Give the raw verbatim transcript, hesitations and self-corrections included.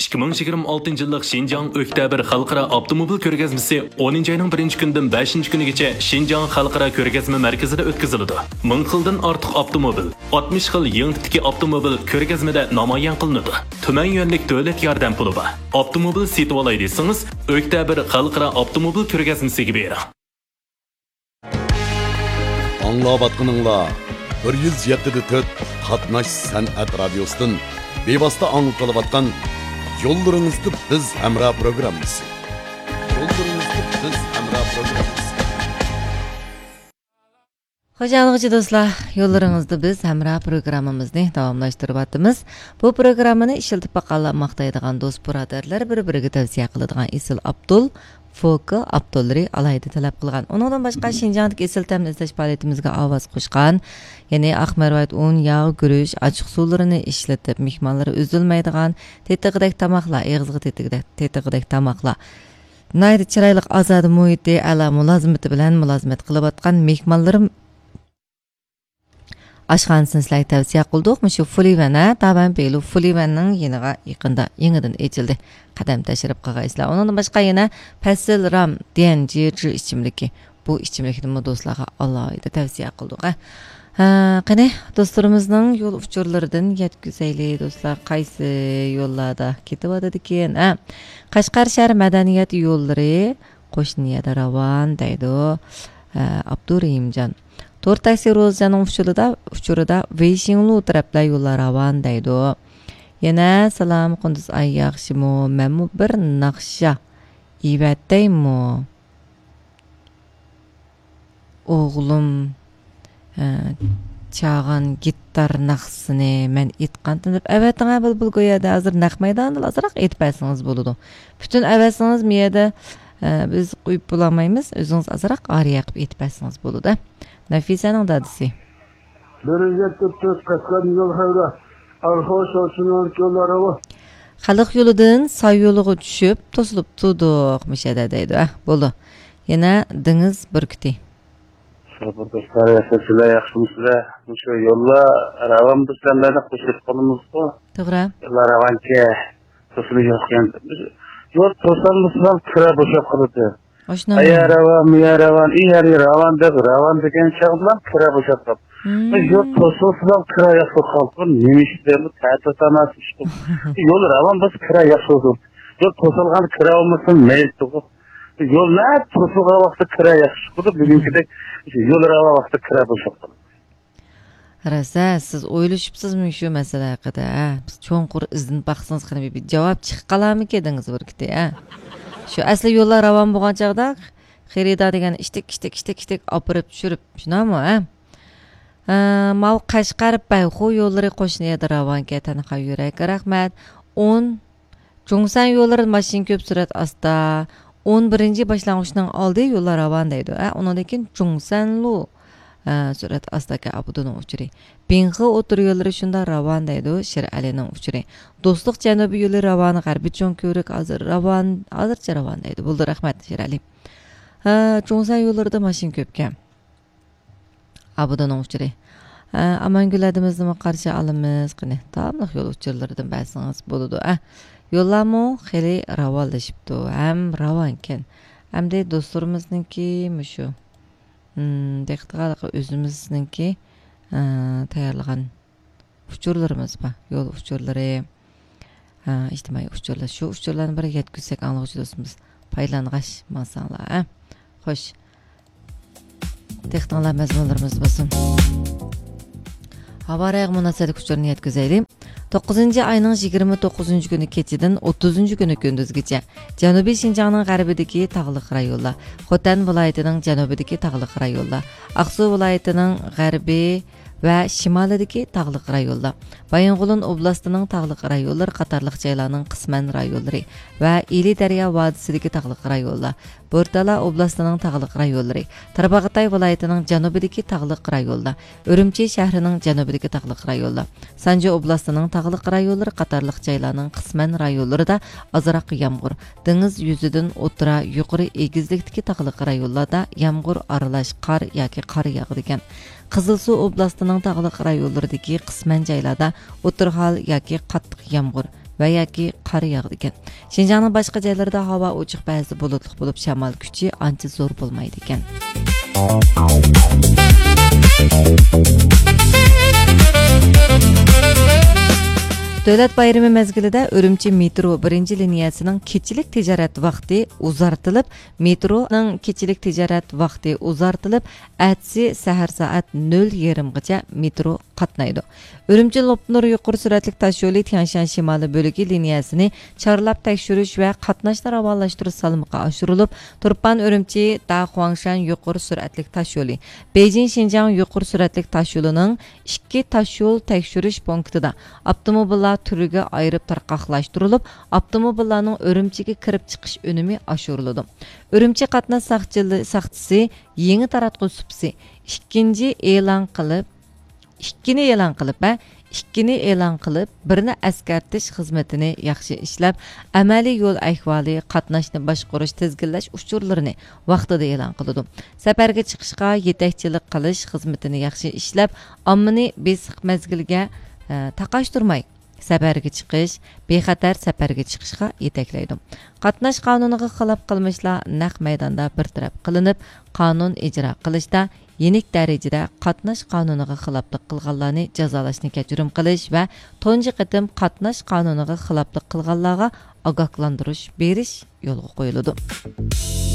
ئىككى مىڭ يىگىرمە ئالتىنچى يىللىق شىنجاڭ ئۆكتەبىر خەلقئارا ئاپتوموبىل كۆرگەزمىسى ئونىنچى ئاينىڭ بىرىنچى كۈنىدىن بەشىنچى كۈنىگىچە شىنجاڭ خەلقئارا كۆرگەزمە مەركىزىدە ئۆتكۈزۈلىدۇ. مىڭ خىلدىن ئارتۇق ئاپتوموبىل، ئاتمىش خىل يېڭى تىپتىكى ئاپتوموبىل كۆرگەزمىدە نامايان قىلىنىدۇ. تۈمەن يۈەنلىك دۆلەت ياردەم پۇلى بار. ئاپتوموبىل سېتىۋالاي دېسىڭىز، ئۆكتەبىر خەلقئارا ئاپتوموبىل كۆرگەزمىسىگە بېرىڭ. ئاڭلاۋاتقىنىڭلار بىر يۈز يەتتە دە تۆت قاتناش سەنئەت رادىيوسىدىن بىۋاسىتە ئاڭلىتىلىۋاتقان يوللىرىڭىزدا بىز ھەمراھ پروگراممىسى. يوللىرىڭىزدا بىز ھەمراھ پروگراممىسى. خوش ئاڭلىغۇچى دوستلار، يوللىرىڭىزدا بىز ھەمراھ پروگراممىمىزنى داۋاملاشتۇرۇۋاتىمىز. بۇ پروگراممىنى ئىشلىتىپ باققانلار ماختايدىغان دوست بۇرادەرلەر بىر-بىرىگە تەۋسىيە قىلىدىغان ئېسىل ئابدۇل، فوكا ئاپتورلىرى ئالاھىدە تەلەپ قىلغان. ئۇنىڭدىن باشقا، شىنجاڭدىكى ئېسىل تەمنى ئىزدەش پائالىيىتىمىزگە ئاۋاز قوشقان، يەنى ئاق مەرۋايىت ئۇن، ياغ، گۈرۈچ، ئاچچىق سۇلىرىنى ئىشلىتىپ، مېھمانلىرى ئۈزۈلمەيدىغان تېتىغۇدەك تاماقلار، ئېغىزغا تېتىگۈدەك، تېتىغۇدەك تاماقلار، ناھايىتى چىرايلىق ئازادە مۇھىتى، ئەلا مۇلازىمىتى بىلەن مۇلازىمەت قىلىۋاتقان مېھمانلىرىم ئاشخانىسىنى سىلەرگە تەۋسىيە قىلدۇق. مۇشۇ فۇلىۋەن، ھە، دابەن بېيلۇ فۇلىۋەننىڭ يېنىغا يېقىندا يېڭىدىن ئېچىلدى. قەدەم تەشرىپ قىلغايسىلەر. ئۇنىڭدىن باشقا يەنە پەسىل رام ديەن جىجى ئىچىملىكى. بۇ ئىچىملىكنىمۇ دوستلارغا ئالاھىدە تەۋسىيە قىلدۇق، ھە. ھە، قېنى، دوستلىرىمىزنىڭ يول ئۇچۇرلىرىدىن يەتكۈزەيلى، دوستلار. قايسى يوللاردا كېتىۋاتىدىكىن، ھە؟ قەشقەر شەھەر مەدەنىيەت يوللىرى قوشنا يەردە راۋان دەيدۇ. ھە، ئابدۇرېھىمجان. تور تاكسى روزىجاننىڭ ئۇچۇرىدا، ئۇچۇرىدا ۋېيشىڭلۇ تەرەپلەر يوللار راۋان دەيدۇ. يەنە سالام قۇندۇز ئاي ياخشىمۇ؟ مەنمۇ بىر ناخشا ئېۋەتەيمۇ؟ ئوغلۇم، ھە، چاغان گىتار ناخشىسىنى مەن ئېيتقانتىم دەپ ئەۋەتىڭە بۇلبۇل گويادا. ھازىر نەق مەيداندا ئازراق ئېيتىپ بەرسىڭىز بولىدۇ. پۈتۈن ئەۋەتسىڭىز مۇ يەردە، ھە، بىز قويۇپ بولالمايمىز. ئۆزىڭىز ئازراق ئارىيە قىلىپ ئېيتىپ بەرسىڭىز بولىدۇ. نەفىسەنىڭ دادىسى. بىر يۈز يەتتە تۆت قەشقەر يول خەۋىرى. ئارخو شوشىنىڭ يوللىرى بۇ. خەلق يولىدىن ساي يولىغا چۈشۈپ، توسۇلۇپ تۇردۇق، مۇشەدە دەيدۇ. ئە، بولدى. يەنە دېڭىز بۈركۈتى. سوپۇر دوستلار، ياخشىسىلەر، ياخشىمۇسىلەر؟ مۇشۇ يوللار راۋان بىز سەنلەرنى قوشۇپ قالىمىزغۇ. توغرا. يوللار راۋانكى، توسۇلۇش يوقكەن. يول توسالمىسىلا كىرا بوشاپ قالىدۇ. ئاشۇنداق. ئايا راۋان، مۇيا راۋان، ئى ھەر راۋان دەپ، راۋان دېگەن چاغدىلا كىرا بوشاپ قاپ. مم. يول توسۇلسىلا كىرا ياخشى بولۇپ قالىدۇ. نېمە ئىش بىلەن بۇ تەتۈر تاماسا ئىش بۇ. يول راۋان بولسا كىرا ياخشى بولىدۇ. يول توسالغان كىرا بولمىسا مەيلى تۇغۇ. يول نە توسۇلغان ۋاقىتتا كىرا ياخشى بولىدۇ. بۈگۈنكىدەك يول راۋان ۋاقتىدا كىرا بوشاپ قالىدۇ. راست، ھە، سىز ئويلىشىپسىزمۇ شۇ مەسىلە ھەققىدە، ھە؟ بىز چوڭقۇر ئىزدىنىپ باقسىڭىز، قېنى بىر جاۋاب چىقىپ قالارمىكىن دېڭىز بۈركۈتى، ھە؟ شۇ ئەسلى يوللار راۋان بولغان چاغدا خېرىدار دېگەن ئىشتىك، ئىشتىك، ئىشتىك، ئىشتىك ئاپىرىپ چۈشۈرۈپ، شۇنداقمۇ، ھە؟ ھە، ماۋۇ قەشقەر بەيخۇ يوللىرى قوشنا يەردە راۋانكەن، تەنھا يۈرەك، رەھمەت. ئون جۇڭسەن يوللىرىدا ماشىنا كۆپ، سۈرئەت ئاستا. ئون بىرىنچى باشلانغۇچنىڭ ئالدى يوللار راۋان دەيدۇ. ئە، ئۇنىڭدىن كېيىن جۇڭسەنلۇ، ئە، سۈرئەت ئاستا ئىكەن، ئابدۇنىڭ ئۇچۇرى. بىڭخې ئوتتۇرا يوللىرى شۇنداق راۋان دەيدۇ، شېرئەلىنىڭ ئۇچۇرى. دوستلۇق جەنۇبىي يولى راۋان، غەربىي چوڭ كۆۋرۈك ھازىر راۋان، ھازىرچە راۋان دەيدۇ. بولدى، رەھمەت، شېرئەلى. ھە، جۇڭسەن يوللىرىدا ماشىنا كۆپكەن. ئابىدىنىڭ ئۇچۇرى. ئە، ئامانگۈل ھەدىمىزنىمۇ قارشى ئالىمىز. قېنى، داۋاملىق يول ئۇچۇرلىرىدىن بەرسىڭىز بولىدۇ. ئە، يوللارمۇ خېلى راۋانلىشىپتۇ ھەم راۋانكەن. ئەمدى دوستلىرىمىزنىڭكى مۇشۇ، م، دىققىتىغا ئۆزىمىزنىڭكى، ئە، تەييارلىغان ئۇچۇرلىرىمىز بار. يول ئۇچۇرلىرى، ھە، ئىجتىمائىي ئۇچۇرلار. شۇ ئۇچۇرلارنى بىر يەتكۈزسەك ئاڭلىغۇچى دوستىمىز پايدىلانغاچ ماڭساڭلار، ھە. خوش. دىققىتىڭلار مەزمۇنلىرىمىزدا بولسۇن. ھاۋا رايىغا مۇناسىۋەتلىك ئۇچۇرنى يەتكۈزەيلى. توققۇزىنچى ئاينىڭ يىگىرمە توققۇزىنچى كۈنى كېچىدىن ئوتتۇزىنچى كۈنى كۈندۈزگىچە جەنۇبىي شىنجاڭنىڭ غەربىدىكى تاغلىق رايونلار، خوتەن ۋىلايىتىنىڭ جەنۇبىدىكى تاغلىق رايونلار، ئاقسۇ ۋىلايىتىنىڭ غەربى، ۋە شىمالىدىكى تاغلىق رايونلار، بايىنغولىن ئوبلاستىنىڭ تاغلىق رايونلىرى قاتارلىق جايلارنىڭ قىسمەن رايونلىرى ۋە ئىلى دەريا ۋادىسىدىكى تاغلىق رايونلار، بورتالا ئوبلاستىنىڭ تاغلىق رايونلىرى، تارباغاتاي ۋىلايىتىنىڭ جەنۇبىدىكى تاغلىق رايونلار، ئۈرۈمچى شەھىرىنىڭ جەنۇبىدىكى تاغلىق رايونلار، سانجى ئوبلاستىنىڭ تاغلىق رايونلىرى قاتارلىق جايلارنىڭ قىسمەن رايونلىرىدا ئازراق يامغۇر، دېڭىز يۈزىدىن ئوتتۇرا، يۇقىرى ئېگىزلىكتىكى تاغلىق رايونلاردا يامغۇر ئارىلاش قار ياكى قار ياغىدىكەن. قىزىلسۇ ئوبلاستىنىڭ تاغلىق رايونلىرىدىكى قىسمەن جايلاردا ئوتتۇرا ھال ياكى قاتتىق يامغۇر، ۋە ياكى قار ياغىدىكەن. شىنجاڭنىڭ باشقا جايلىرىدا ھاۋا ئوچۇق، بەزىدە بۇلۇتلۇق بولۇپ، شامال كۈچى ئانچە زور بولمايدىكەن. دۆلەت بايرىمى مەزگىلىدە ئۈرۈمچى مېترو بىرىنچى لىنىيەسىنىڭ كېچىلىك تىجارەت ۋاقتى ئۇزارتىلىپ، مېترونىڭ كېچىلىك تىجارەت ۋاقتى ئۇزارتىلىپ، ئەتىسى سەھەر سائەت نۆل يېرىمغىچە مېترو قاتنايدۇ. ئۈرۈمچى لوپنۇر يۇقىرى سۈرئەتلىك تاشيولى تيەنشان شىمالىي بۆلىكى لىنىيەسىنى چارلاپ تەكشۈرۈش ۋە قاتناشنى راۋانلاشتۇرۇش سالمىقى ئاشۇرۇلۇپ، تۇرپان ئۈرۈمچى داخۇاڭشەن يۇقىرى سۈرئەتلىك تاشيولى، بېيجىڭ شىنجاڭ يۇقىرى سۈرئەتلىك تاشيولىنىڭ ئىككى تاشيول تەكشۈرۈش پونكىتىدا ئاپتوموبىللار تۈرىگە ئايرىپ تارقاقلاشتۇرۇلۇپ، ئاپتوموبىللارنىڭ ئۈرۈمچىگە كىرىپ چىقىش ئۈنۈمى ئاشۇرۇلىدۇ. ئۈرۈمچى قاتناش ساقچىلى-، ساقچىسى يېڭى تاراتقۇ سۇپىسى ئىككىنچى ئېلان قىلىپ، ئىككىنى ئېلان قىلىپ، ھە، ئىككىنى ئېلان قىلىپ، بىرنى ئەسكەرتىش خىزمىتىنى ياخشى ئىشلەپ، ئەمەلىي يول ئەھۋالى، قاتناشنى باشقۇرۇش، تىزگىنلەش ئۇچۇرلىرىنى ۋاقتىدا ئېلان قىلىدۇ. سەپەرگە چىقىشقا يېتەكچىلىك قىلىش خىزمىتىنى ياخشى ئىشلەپ، ئاممىنى بېسىق مەزگىلگە، ئە، تاقاشتۇرماي، سەپەرگە چىقىش، بىخەتەر سەپەرگە چىقىشقا يېتەكلەيدۇ. قاتناش قانۇنىغا خىلاپ قىلمىشلار نەق مەيداندا بىر تەرەپ قىلىنىپ، قانۇن ئىجرا قىلىشتا يېنىك دەرىجىدە قاتناش قانۇنىغا خىلاپلىق قىلغانلارنى جازالاشنى كەچۈرۈم قىلىش ۋە تۇنجى قېتىم قاتناش قانۇنىغا خىلاپلىق قىلغانلارغا ئاگاھلاندۇرۇش بېرىش يولغا قويۇلىدۇ.